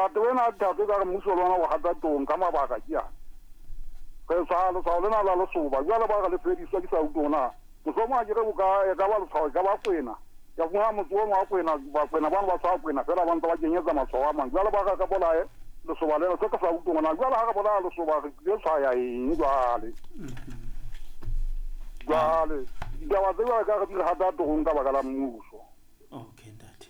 Taba ena ya dithatho ekare mmuso le ona o hata tong ka mabaka ke ana. Re tshwaya letshwao lena la lesoba, jwale ba re le fediswa ke sa utlwe hore na mohlomong ha ke re bo ka e ka ba letshwao e ka ba kwena. Ke a fumana motse ono wa kwena, bakwena bano ba tshwaya kwena feela ba ntse ba kenyetsa matshwao a mang. Jwale ba re re bolaye lesoba lena, se ke sa utlwe hore na jwale ha re bolaya lesoba re tlile tshwaya eng jwale. Jwale ditaba tse jwale ka re di re hata torong ka baka la mmuso. Okay ntate.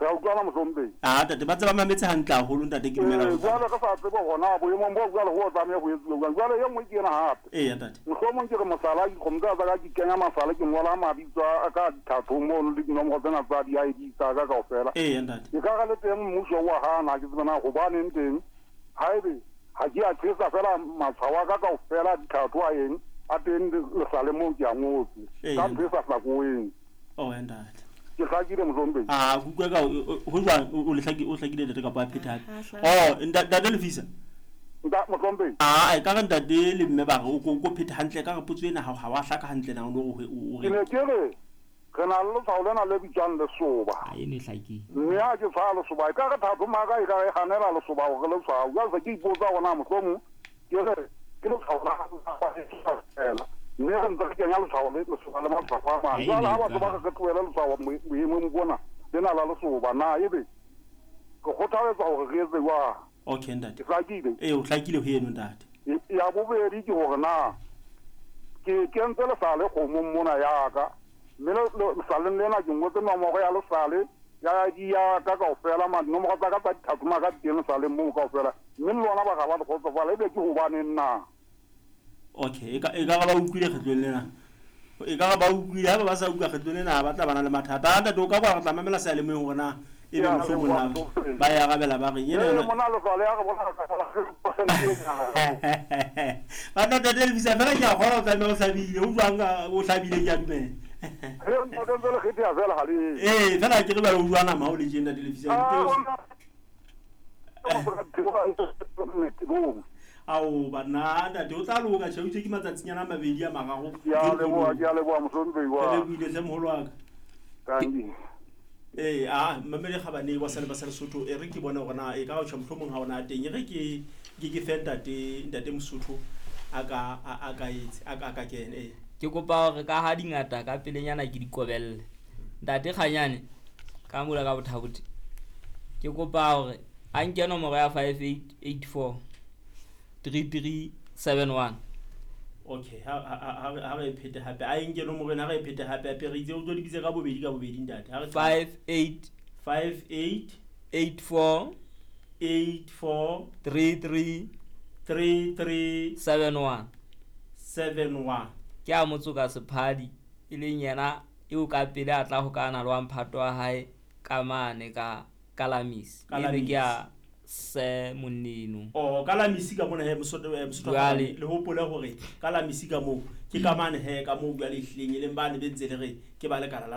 Re a utlwana mohlomphehi? Ah ntate ba tse ba mametse hantle haholo ntate ke dumela Ee, jwale re sa tsebe hore na boemong boo jwale ho tlameha ho etsuwe jwang. Jwale e nngwe ke ena hape. Eya ntate. Mohlomong ke re mohlala, dikgomo tsena tsa ka ke kenya masale, ke ngola mabitso a ka dithathong mono le dinomoro tsena tsa di-ID tsa ka kaofela. Eya ntate. E ka re le teng mmuso o a hana, ha ke tsebe na hobaneng teng. Haebe ha ke a tjhesa feela matshwao a ka kaofela a dithatho a eng a teng lesale moo ke a ngotse ka ntho e sa hlakoeng. Oh, ntate. Ke hlakile mohlomphehi. Ah, ke utlwa ka ho jwang o le hlakile o hlakile ntate kapa a phetha hape. Oh, ntate Lefisa. Nta mohlomphehi. Ah, e ka re ntate le mme ba re o ko phetha hantle ka re potso ena ha wa hlaka hantle na o no re o re. Ke ne ke re re na le letshwao lena le bitswang lesoba. Ha eno e hlakile. Mme ha ke tshwaya lesoba e ka re thato maka e ka re hanela lesoba hore le tshwao. Jwale se ke ipotsa hore na mohlomong Ke re, ke letshwao la fela. Mme re ntse re kenya letshwao le lesoba le matshwafo a mang. Jwale ha batho ba re re tlohele letshwao boemong bona lena la lesoba, na ebe re kgothaletswa hore re etse jwang? Okay, ntate. Ke hlakile? Ee, o hlakile ho eno, ntate. Ya bobedi ke hore na ke kentse lesale kgomong mona ya ka, mme lesaleng lena ke ngotse nomoro ya lesale ya ID ya ka kaofela, dinomoro tsa ka tsa dithatho ka di teng lesaleng moo kaofela. Mme le lona ba ga ba le kgotsofala, ebe ke hobaneng na? Okay, e ka e ka ba utlwile kgetlong lena. E ka ba utlwile, ha ba ba sa utlwa kgetlong lena ba tla bana le mathata. A ntate o ka kwa re tla mamela seyalemoyeng hore na e be mohlomong na ba e arabela ba reng. Ene mona letswalo ya re bona ba ntate Elvis fela ke a kgona o tlameha o hlabile o jwang o hlabile ke a dumela. Ee fela ke re jwale o jwa nama o le tjena ntate Elvis. Ao banna ntate o tla loka tjhe ke matsatsinyana a mabedi a mararo. Ke a leboha, ke a leboha mohlomphehi wa. Ke lebohile hle moholo wa ka. Thank you. Ee, a mmamedi Kgabane wa Sale ba sa Lesotho e re ke bone hore na e ka tjho mohlomong ha ona teng e re ke ke fe ntate ntate Mosotho a ka a ka etse a ka kene. Ee. Ke kopa hore ka ha dingata ka pelenyana ke di kobelle. Ntate Kganyane ka mula ka bothabothi. Ke kopa hore a nke nomoro ya 5884 3371. Okay, ha re phete hape. A e nke nomoro ena, ha re phete hape hape re itse o tlo di bitse ka bobedi ka bobedi ntate. Ha re 58 58 84 84 33 33 71 71. Ke a motsoka Sephadi e leng yena eo ka pele a tla hokana le wa mphato wa hae ka mane ka Kalamisi. Eno ke ya Sir Monneno. Oh, Kalamisi ka mona he Mosotho Mosotho Jwale le hopole hore Kalamisi ka moo ke ka mane he ka moo jwale ehlileng e leng bane be ntse le re ke ba lekala la